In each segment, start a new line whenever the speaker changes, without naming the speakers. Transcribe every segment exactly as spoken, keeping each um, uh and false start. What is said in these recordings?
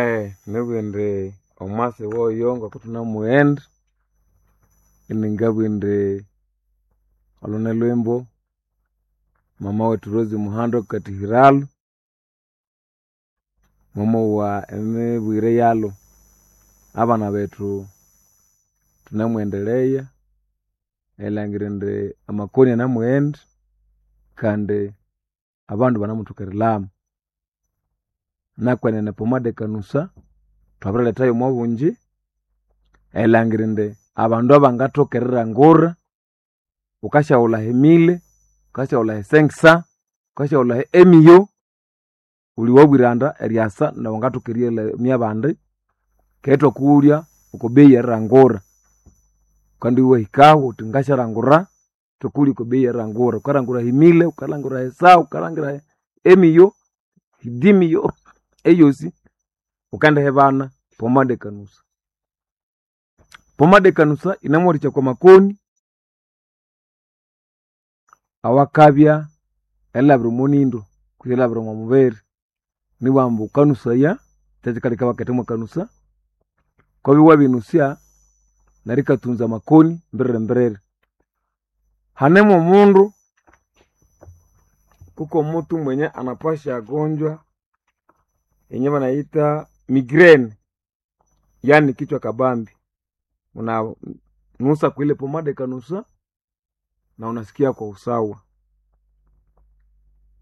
Eh, nibugha indi omwasi woyo ngokuthunamughenda iningabugha indi olune lwimbo mama wethu Rose Muhando Katihiralo mwamowa emibwire yalwo. Abana bethu thunemwendelea erilhangira indi amakoni anamughenda kandi abandu banamuthoka erilhama. Nakwenene pomade kanusa thwabirilethayo omwabungi erilhangira indi abandu abangathoka erilhangura, wukasyaghulha emile, wukasyahulha esenkisa, wukasyahulha emiyo, wuli wabwiranda eryasa nawu wangathoka eriyalamya abandi keghe ithwakughulya okwa bei erilhangura. Wukandi iwahikahu wuthi ngasyalhangura, ithwakughulya okwa bei erilhangura. Wukalhangura emile, wukalhangura esaha, wukalhangira emiyo, idimiyo eyosi wukendihibana pomade kanusa. Pomade kanusa yinemuwathikya okwa makoni awakabya erilhabira omo nindo kutse erilhabira omo mubiri. Nibughambu wukanusaya kyekikaleka ibaketha mwakanusa, wukabya wabinusya neryo ikatunza amakoni mbiriri mbiriri. Hanemu omundu, kuko mutu mwenye anapasha gonjwa yenye banayita migraine yani kichwa kabambi, unanusa kwile pomade kanusa na unasikia kwa usawa.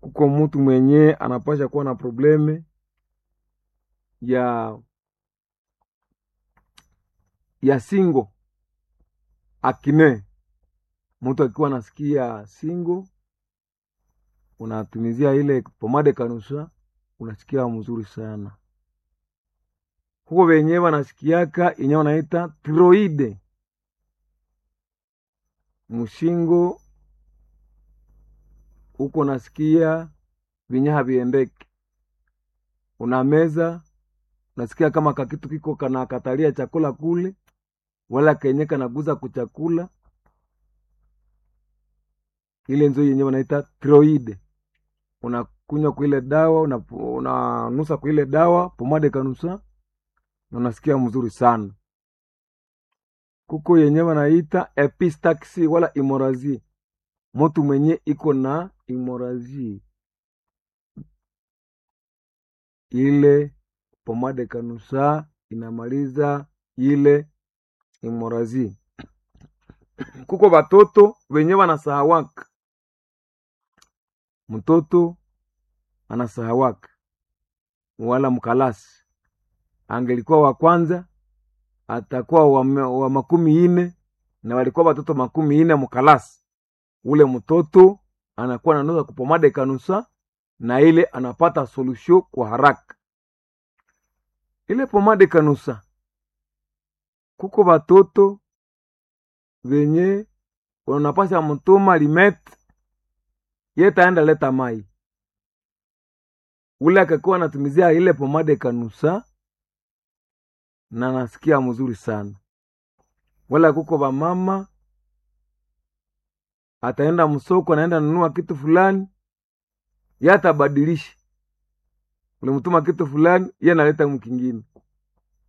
Kuko mutu mwenye anapasha kuwa na probleme ya ya singo akine, mutu akiwa anasikia singo unatumizia ile pomade kanusa unasikia mzuri sana. Huko wenyewe wanasikiaka yenye wanaita tiroide mushingo, huko nasikia vinye haviendeki, unameza unasikia kama kakitu kiko kanakatalia chakula kule, wala kenye kanaguza kuchakula, ile nzo yenye wanaita tiroide. Unakunywa kuile dawa, unanusa kuile dawa pomade kanusa na unasikia mzuri sana. Kuko yenye wanaita epistaxi wala imorazi, mutu mwenye iko na imorazi ile pomade kanusa inamaliza ile imorazi. Kuko batoto wenye wanasahawaka, mtoto anasahawaka wala mkalasi, angelikuwa wa kwanza atakuwa wa, wa makumi ine na walikuwa watoto makumi ine mkalasi, ule mtoto anakuwa nanusa kupomade kanusa na ile anapata solution kwa haraka. Ile pomade kanusa, kuko batoto venye unapasha mutuma limete yetaenda leta mai, ule akakuwa anatumizia ile pomade kanusa na nasikia mzuri sana. Wala kuko bamama ataenda msoko, anaenda nunua kitu fulani, ye atabadilisha, ulimtuma kitu fulani, ye analeta mkingine.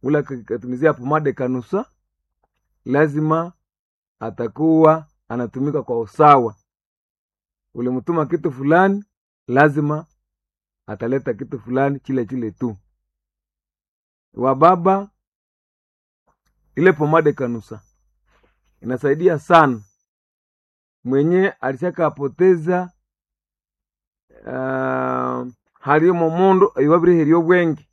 Ule akatumizia pomade kanusa, lazima atakuwa anatumika kwa usawa. Ulimtuma kitu fulani, lazima ataleta kitu fulani chile chile tu. Wababa, ile pomade kanusa inasaidia sana mwenye alishakapoteza uh, halimo mundu iwabiriherya obwenge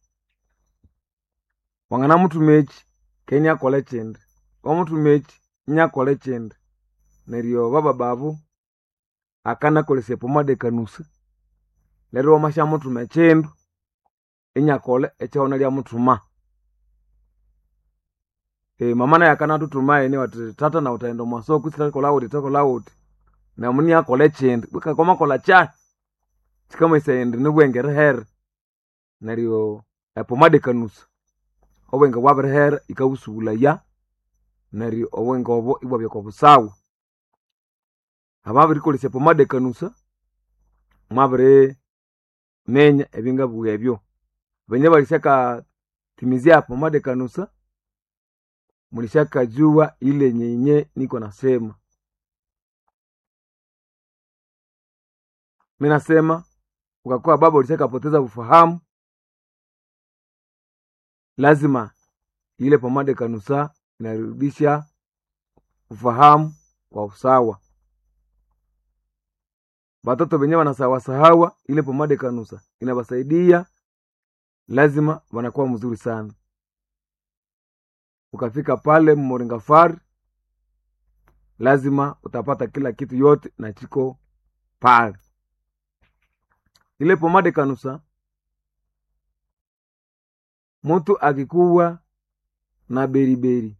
wangana muthuma eki kenya akola ekindi wamuthuma eki inyakola ekindi neryo bababa abo akanakolesya pomade kanusa neryo wamasyamuthuma ekindu inyakola ekyawuna lyamuthuma. E, mama naye akanathuthuma ene wati tata nawe utaghenda omwasoko isithakolha wuthi thakolha wuthi namu iniakolha ekindi kwamakolha kyahi kyikamanyisaya indi nibwenge erihere neryo epomade kanusa obwenge bwabirihera yikabusubulaya neryo obwenge obo ibwabya okwa busawa. Ababirikolesya pomade kanusa mwabiriminya ebyangabugha ebyo. Banye balisyaka Timizia pomade kanusa, mulishakajua ile nyenye niko nasema. Mi nasema ukakuwa baba ulishakapoteza ufahamu, lazima ile pomade kanusa inarudisha ufahamu kwa usawa. Batoto benye wanasawasahawa, ile pomade kanusa inabasaidia, lazima wanakuwa mzuri sana. Ukafika pale Moringa Fari, lazima utapata kila kitu yote na chiko pale. Ile pomade kanusa, mtu akikuwa na beriberi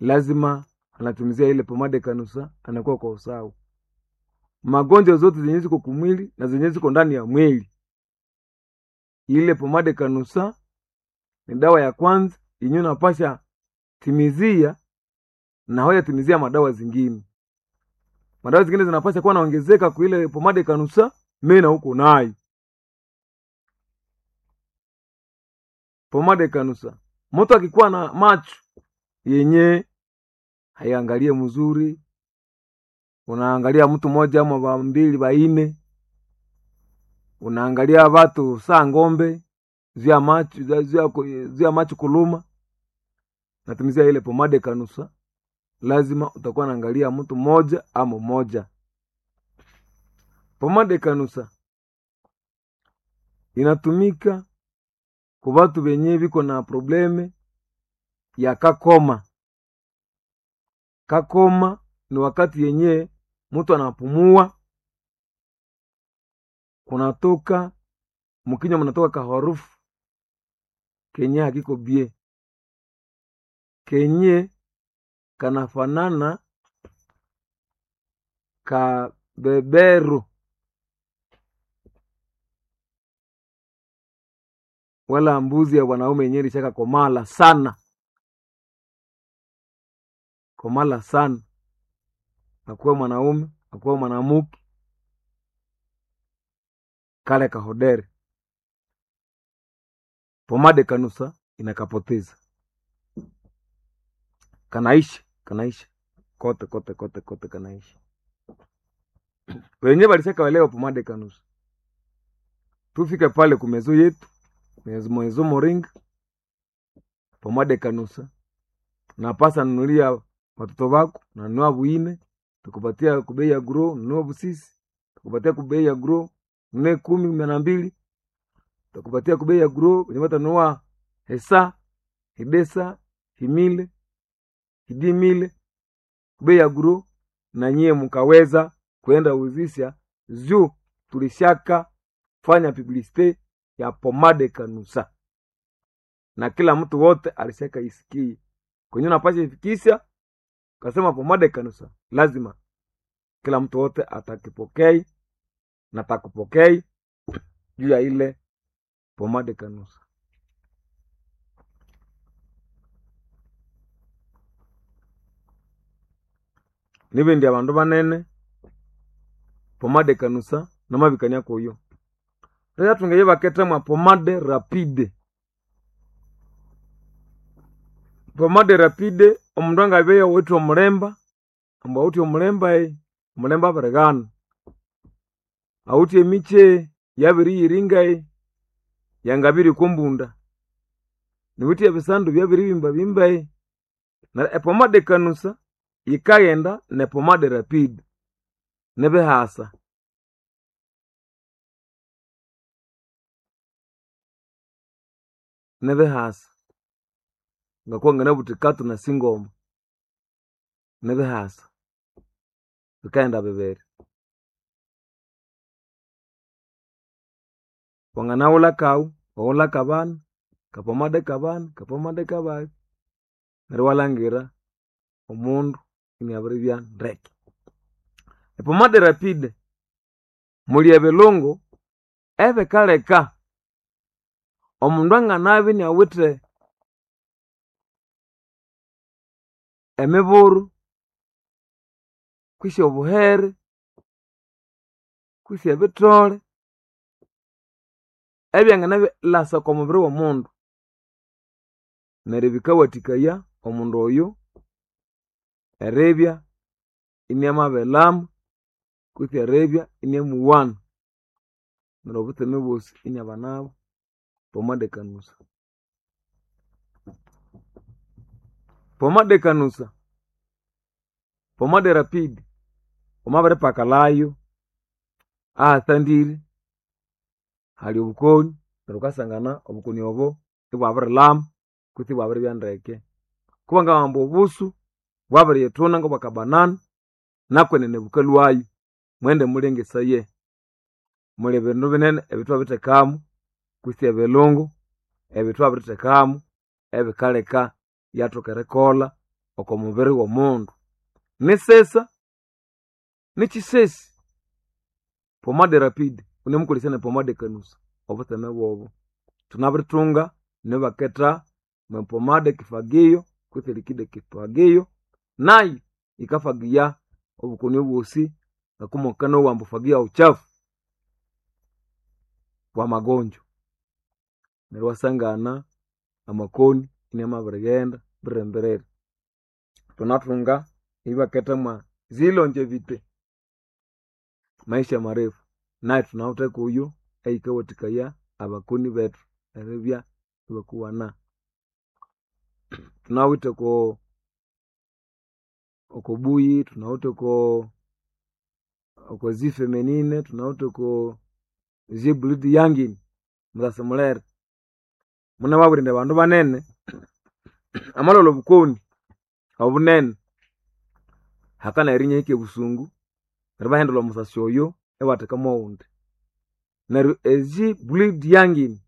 lazima anatumizia ile pomade kanusa, anakuwa kwa usawa. Magonjwa zote zenye ziko kumwili na zenye ziko ndani ya mwili, ile pomade kanusa ni dawa ya kwanza yenye unapasha timizia na hoya timizia madawa zingine. Madawa zingine zinapasha kuwa naongezeka kwa ile pomade kanusa, mena huko nayo pomade kanusa. Mtu akikuwa na macho yenye haiangalie mzuri, unaangalia mtu mmoja ama ba mbili baine, unaangalia watu saa ng'ombe zia macho zia, zia macho kuluma, natumizia ile pomade kanusa, lazima utakuwa naangalia mtu mmoja ama moja. Pomade kanusa inatumika kwa watu benye biko na probleme ya kakoma. Kakoma ni wakati yenye mtu anapumua kunatoka mkinywa, mnatoka kaharufu kenye hakiko bie, kenye kanafanana kabeberu wala mbuzi ya wanaume yenye ilishaka komala sana, komala sana, akuwe mwanaume akuwe mwanamuke, kale kahodere pomade kanusa inakapoteza, kanaisha kanaisha kote kote kote kote, kanaisha. Wenyewe walishaka welewa pomade kanusa. Tufike pale kumezo yetu mwezo moringa pomade kanusa, napasa nunulia watoto wako, nanunua buine tukupatia kubei ya gro, nunua busisi tukupatia kubei ya gro, nunue kumi kumi na mbili tukupatia kubei ya gro, wenye tanunua hesa hidesa himile hidimile kubei ya gro, na nyie mkaweza kwenda uzisha juu tulishaka fanya publicite ya pomade kanusa na kila mtu wote alishaka isikie kwenye napasha ifikisha kasema pomade kanusa, lazima kila mtu wote atakipokei na takupokei juu ya ile pomade kanusa. Nibindi abandu banene pomade kanusa namabikania kuyo rera tungeye baketemwa pomade rapide. Pomade rapide omundu angabeya owithe omulemba ambu awithe omulemba e omulemba abirighana awithe emikye yabiriyiringa e yangabiri okwambunda niwithe ebisandu byabiribimbabimba e neryo epomade kanusa yikaghenda nepomade rapide nibihasa. Nibihasa ngakuwa nganabuthi katu na singoma nibihasa bikaghenda bibiri. Wanganaghulha kawu waghulha kabana kapomade kabana kapomade kababi neryo iwalhangira omundu iniabiribya ndeke. Epomade rapide muli ebilungu ebikaleka omundu anganabya iniawithe emiburu kwisi obuhere kwisi ebithole ebyanganalasa okwa mubiri w'omundu. Neryo bikawathikaya omundu oyo eribya iniamabilama kutse eribya iniamuwana. Neryo obutseme bwosi iniabanabo pomade kanusa. Pomade kanusa, pomade rapide, wamabiripakalhayo ahasandire hali obukoni neryo wukasangana obukoni obo ibwabirilhama kutse ibwabiribya ndeke. Kubangabugha ambu obusu bwabiriyithuna ngobwakabanana nakwenene bukalhwayo. Mughende mulengesaye. Muli bindu binene ebyathwabirithekamu kutse ebilungu ebyathwabirithekamu ebikaleka iyathoka erikolha oko mubiri womundu. Nisisa nikyisesi pomade rapide wunemukolesya ne pomade kanusa obutseme bwobo. Thunabirithunga nibaketha mwepomade kifagio kutse liquide kifagio nayo yikafagiya obukoni obwosi ngakumukanowa ambu fagia uchafu wamagonjwa. Neryo iwasangana amakoni inamabirighenda birembere. Thunathunga ibaketha mwa zilongevity maisha marefu nayu thunawithe kuyo eyikawathikaya abakoni bethu eribya ibakuwana. Thunawithe oko okobuyi, thunawithe oko oko zifeminine, thunawithe oko zibulidi yangini musasi mulere. Munababwira indi abandu banene amalhwalha obukoni obunene hakana erinya ahika ebusungu neryo ibahindulha omusasi oyo ibatheka mwowundi. Neryo ezi bleed yangini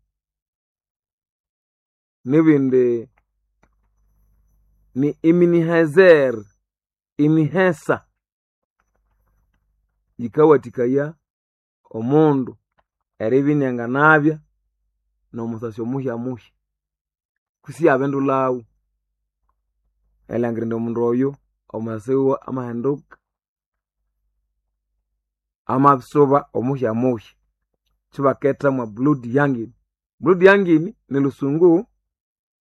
nibindi ni iminihezer imihesa yikawathikaya omundu eribya inianganabya nomusasi omuhyamuhya kwisi iyabindulhawu erilhangira indi omundu oyo omusasi wiwe amahinduka amabisuba omuhyamuhya kyibaketha mwa blood yangini. Blood yangini nilhusungu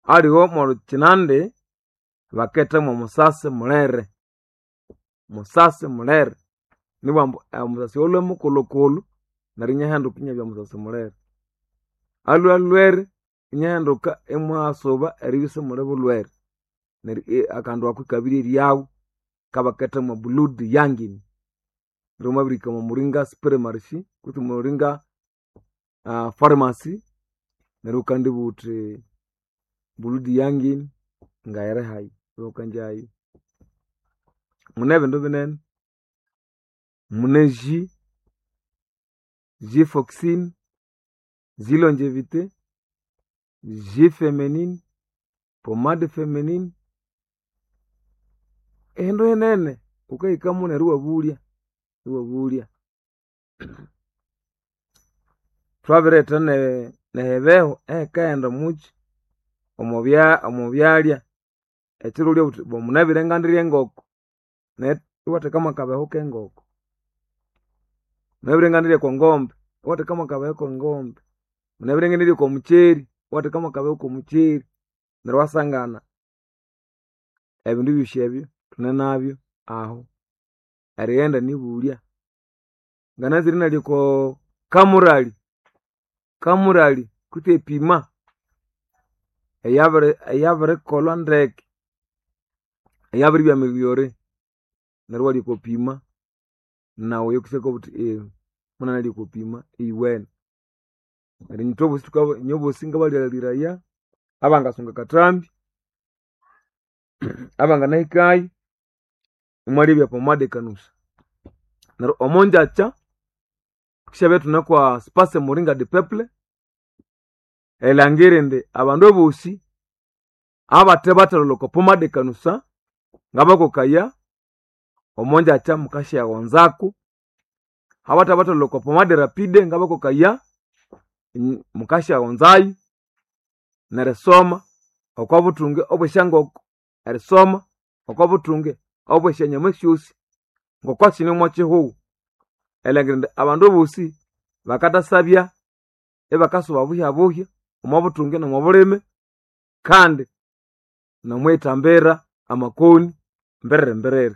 aliwo mwolhukyinandi baketha mwomusasi mulere, musasi mulere nibughambu omusasi oyo alhwe mukulhukulhu neryo iniahinduka inabya musasi mulere. Alhwe alhwere iniahinduka imwasuba eribya isimuli bulhwere neryo akandu ako ikabirye eryahu kabaketha mwa blood yangini. Neryo wamabirihika omwa muringa supermarket kutse muringa pharmacy neryo wukandibugha wuthi blood yangini ngayiri hayi iwakanjayo. Mune ebindu binene, mune G, G foxin, G longevity, G feminine, pomade feminine, ehindu hinene wukahikamu neryo iwabulya iwabulya. Thwabiretha nehibeho ehikaghenda omukyi omubya omubyalya ekyiro wulye wuthi munabwire ngandirya engoko neryo iwatheka mwakabeho kengoko. Munabwire ngandirya okwangombe iwatheka mwakabeho kengombe. Munabwire ngendirya okwamukyeri iwatheka mwakabeho komukyeri neryo iwasangana ebindu ebyosi ebyo thunenabyo ahu erighenda nibulya. Ngananzire inalya oko kamurali, kamurali kutse epima eyabiri eyabirikolhwa ndeke eyabiribya ameliyore neryo iwalya oko pima nawu eyukuseka wuthi munanalya oko pima eyiwene. Neryo ithwebosi thuka inywebosi ngabalhaghiraya abangasunga akathambi abanganahikayo imwalebya pomade kanusa. Neryo omongyakya thukisyabya ithune kwa space muringa de peuple erilhangira indi abandu abosi abathe bathalholha oko pomade kanusa ngabakokaya omongyakya mukasyaghonzaku, abathe bathalholha oko pomade rapide ngabakokaya mukasyaghonzayo nerisoma okwabuthunge obwesyangoko, erisoma okwabuthunge obwesyanyama syosi ngokwasine omwakyihugho. Erilhangira indi abandu abosi bakathasabya ibakasuba buhyabuhya omwabuthunge nomwabulime kandi Namwithambira amakoni mbiriri mbiriri.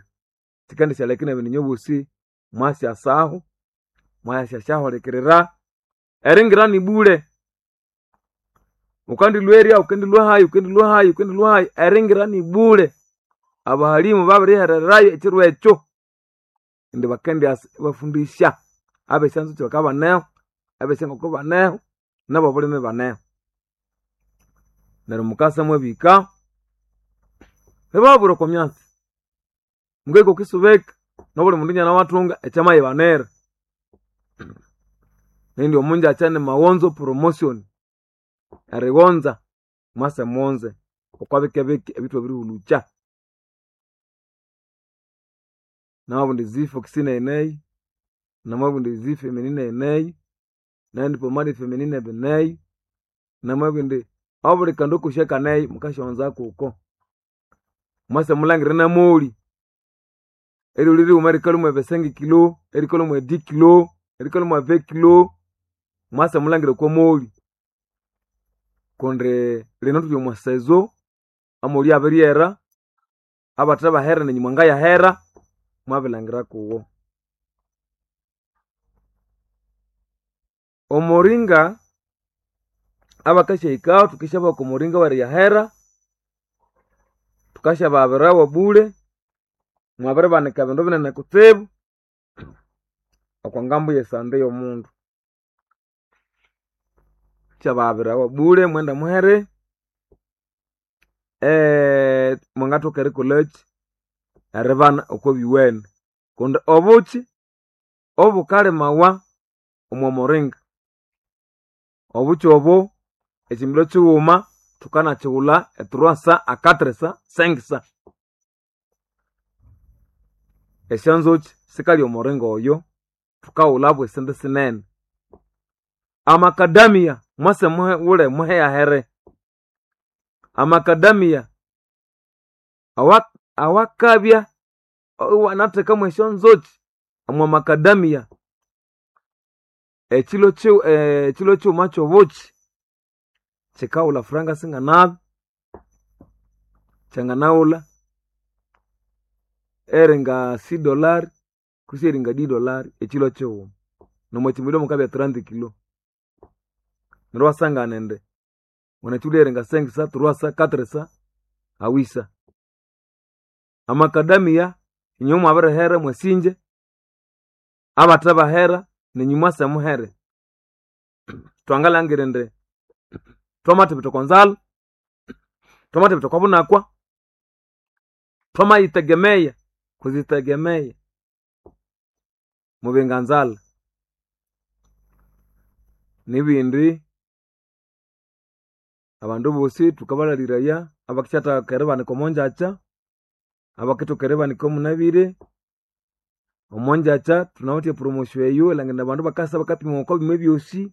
Sikendisya nebindu inywe bosi mwasyasaho, mwasyasyahulekirira. Eringira ni bule. Ukandilwa erya, ukendilwa hayi, ukendilwa hayi, ukendilwa hayi, eringira ni bule. Abahalimu babirihererayo ekiro ekyo. Indi bakendyasa ibafundisya abesyanzukyi bakabaneho, abesyangoko baneho, nabobulimi baneho. Neryo mukasa mwabihika, ibababwira okwa myatsi, mungahika okwisubika, nobuli mundu inanawathunga ekyamayibanira. Nindi omunjakya ni maghonzo promotion, erighonza mwase mughonze okwa bike bike ebithwabirihulukya. Namabundi zifox neneyi, namabundi zifeminine eneyi, nendi pomade feminine eneyi, namabundi obuli kandu kosi akaneyo mukasyonza kuko. Mwase mulangire namoli, eryolya righuma rikalhwa mwe vingt kilo, erikalhwa mwe dix kilo, erikalhwa mwe vingt kilo, mwase mulangire okwa moli. Kundi lino thuli omwa season, amoli abiryera, abathe bahera nenyu mwangayahera, mwabilhangira kuwo. Omuringa abakasyahikaho thukisyabaha oko muringa weriyahera, thukasyabahabirawo bule, mwabiribanika ebindu binene kutsibu okwa ngambo yesande yomundu. Thukasyabahabirawo bule mwende muhere, mwangathoka erikolhakyi, eribana okwa biwene kundi obukyi obukalimawa omwa muringa, obukyi obo ekyimilho kyighuma thukanakighulha e trois cents a quatre cents, cinq cents. Esyanzukyi sikalya omuringa oyo, thukaghulha bwesente sinene. Amakadamia mwase mughule muheyahere. Amakadamia awa awakabya iwanathekamu esyonzukyi omwa makadamia, ekyilo kyi ekyilo kyighuma kyobukyi kyikaghulha franga singanabi, kyanganaghulha eringa six dollar kwisi eringa dix dollar ekyilo kyighuma. Nomwa kyimilho mukabya trente kilo. Neryo iwasangana indi wanakyigulha eringa cinq cents, trois cents, quatre cents, a huit cents. Amakadamia inywe mwabirihera mwasinja, abathe bahera nenyu mwase muhere. Thwangalhangira indi thwamathibitha okwa nzalha, thwamathibitha okwa bunakwa, thwamayitegemeya kuzitegemeya mubinga nzalha. Nibindi abandu bosi thukabalhaliraya abakisyathaka eribanika omonjakya, abakithoka eribanika omunabire, omonjakya thunawithe epromotion eyo erilhangira abandu bakasa bakapima okwa byuma ebyosi,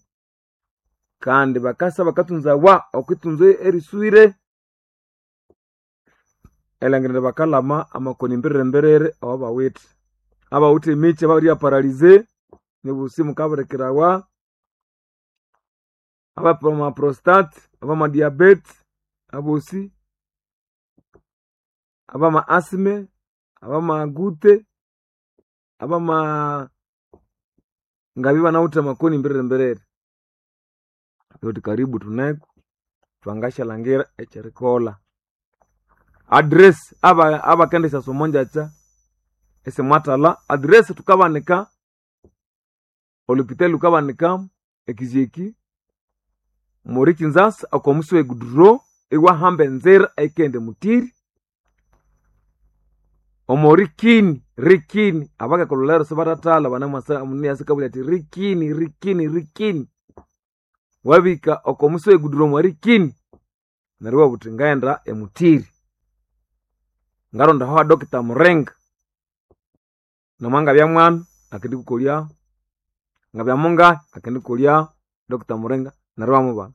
kandi bakasa bakathunzawa okwithunza eriswire, erilhangira indi bakalhama amakoni mbiriri mbiriri awabawithe. Abawithe emikyi ababiribya paralyze, nibosi mukabirikirawa, abama prostate, abama diabete, abosi, abama asthma, abama goutte, abama ngabya ibanawithe amakoni mbiriri mbiriri. Thuthi karibu thuneko, thwangasyalhangira ekyerikolha. Address aba abakendisyasa omonjakya isimwathalha, address thukabanika, olhupitali lhukabanika ekizyeki, muri Kinzasa oko musi we goudron iwahamba enzira eyikaghenda emutiri, omo rikini rikini abakekolholero sibathathalha banamwasa omundu inasakabulya athi rikini rikini rikini. Wabihika oko musi we goudron omwa rikini, neryo iwabugha wuthi ngaghenda emutiri, ngaronda aho ha Doctor Muringa, namangabya mwana akendikukolyaho, ngabya mungahi akendikukolyaho Doctor Muringa neryo iwamubana.